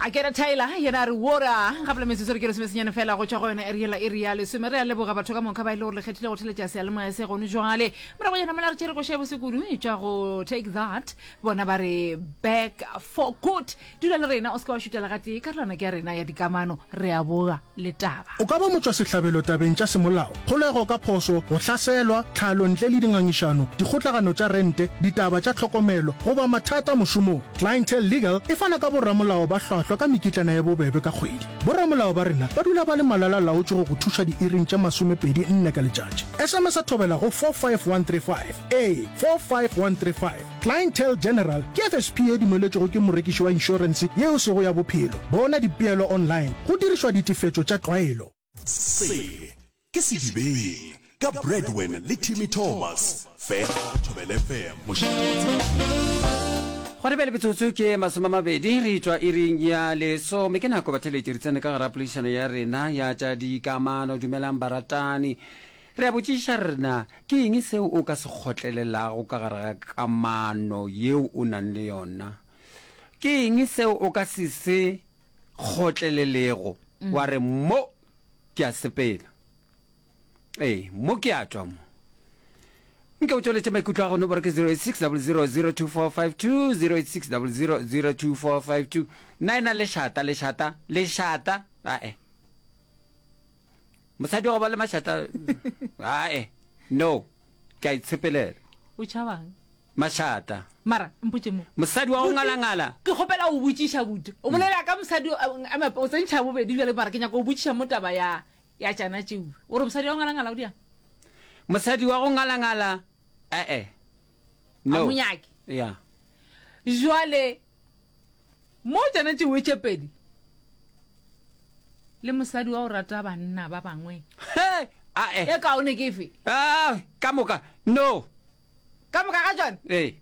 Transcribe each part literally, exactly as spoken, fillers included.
A kena Tyler yena a re wora gapela metsotso re ke lesomesenyane fela go tšwa go yona eri yela iri ya lesome. Re a leboga batho ka moka ba e le gore le kgethile go theletša seyalemoya se gone jwale. Morago jana mola re tšere koša ya bose kudu e tšwa go Take That, bona ba re Back for Good. Dula le rena o se ke wa šutela gatee, karolwana ke ya rena ya dikamano. Re a boa le taba. O ka ba motšwasehlabelo tabeng tša semolao, kgolego ka phoso, go hlaselwa, tlhalo ntle le dingangišano, dikgotlagano tša rente, ditaba tša tlhokomelo, goba mathata mošomong. Clientele Legal e fana ka boramolao ba hlwahlwa ka mekitlana ye bobebe ka kgwedi. Boramolao ba rena ba dula ba le malala-laotšwe go go thuša diiring tše masomepedi nne ka letšatši. S M S Thobela go four five one three five ee four five one three five. Clientele General ke F S P ye dumeletšwego ke morekiši wa inšorense ye e sego ya bophelo. Bona dipeelo online go dirišwa ditefetšo tša tlwaelo. Se ke Sedibeng ka Bradwin le Timmy Thomas, fela go Thobela F M, mošate wa tsebo. Gona bjale metsotso ke masome a mabedi re tšwa iring ya lesome. Ke nako batheeletši re tsene ka gara poledišano ya rena ya tša dikamano. Dumelang baratani. Re a botšiša re na ke eng seo o ka se kgotlelelago ka gare ga kamano yeo o nang le yona? Ke eng seo o ka se se kgotlelelego wa re mo ke a sepela? Ee, mo ke a tšwa mo. Nke o tšweletše maikutlo a gago, nomoro ke zero eight six double zero zero two four five two, zero eight six double zero zero two four five two. Nna ena lešata, lešata, lešata, ae. Mosadi wa go ba le mašata, ae, no, ke a itshepelela. O tšhabang? Mašata. Mara, mpotše mo. Mosadi wa go ngalangala. Ke kgopela go botšiša buti. O bolela ka mosadi o tsentšha bobedi bjale mara ke nyaka go botšiša mo taba ya ya tšana tšeo. O re mosadi wa go ngalangala o diang? Mosadi wa go ngalangala, ee, no. A mo nyake. Ya. Jwale mo tšana tšeo tše pedi le mosadi wa go rata banna ba bangwe. He, ae. E kaone ke efe? Ah, ka moka, no. Ka moka ga tšona? Ee.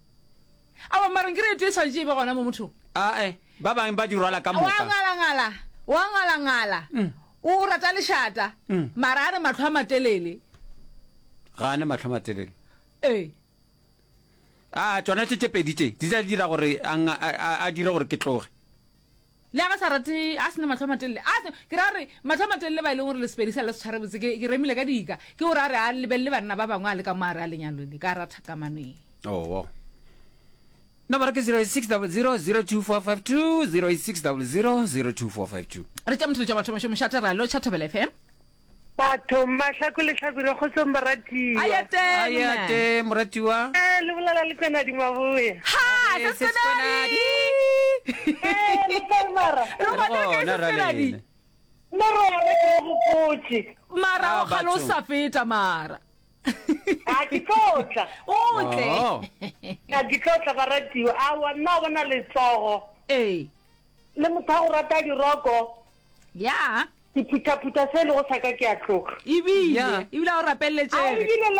Aowa, mara nkere e tee e swanetše e be gona mo mothong. Ae, ba bangwe ba di rwala ka moka. Wa ngalangala, wa ngalangala, o rata lešata, mara a ne mahlo a matelele. Ga a ne mahlo a matelele. Ee. A, tšona tše tše pedi tše, di tla dira gore a, a, a dire gore ke tloge. Le ga sa rate, a se na mahlo a matelele. A se, ke ra gore mahlo a matelele ba e leng gore le Sepedi sa le se tshware botse, ke, ke remile ka dika. Ke gore a re a lebelele banna ba bangwe a le ka mo gare a lenyalo le, ka ratha kamano ye. Oo. Nomoro ke zero eight six double zero zero two four five two, zero eight six double zero zero two four five two. Re tša motho tša batho mošo mošate ra lotšha Thobela F M. Bathong, Mahlaku le Hlabirwa, kgotsong baratiwa. Ayateng, Ayate, moratiwa. Eh, le bolela le Kwenadi Maboya. Ha, Eh, se Kwenadi. Eh, le kae mara? Re gona re kae, Gona Sis ra Kwenadi? lena. Nna re gona ke le gopotše. Mara Ah, o kgale o bathong. sa feta mara. A ke tlo tla. O tle. Oh. A ke tlo tla baratiwa. Aowa, nna o bona letsogo. Ee. Le motho wa go rata diroko. Ya. Ke phuthaphutha se e lego sa ka ke a tloga. Ebile, Ya. ebile a o A rapeleletšege. ebile le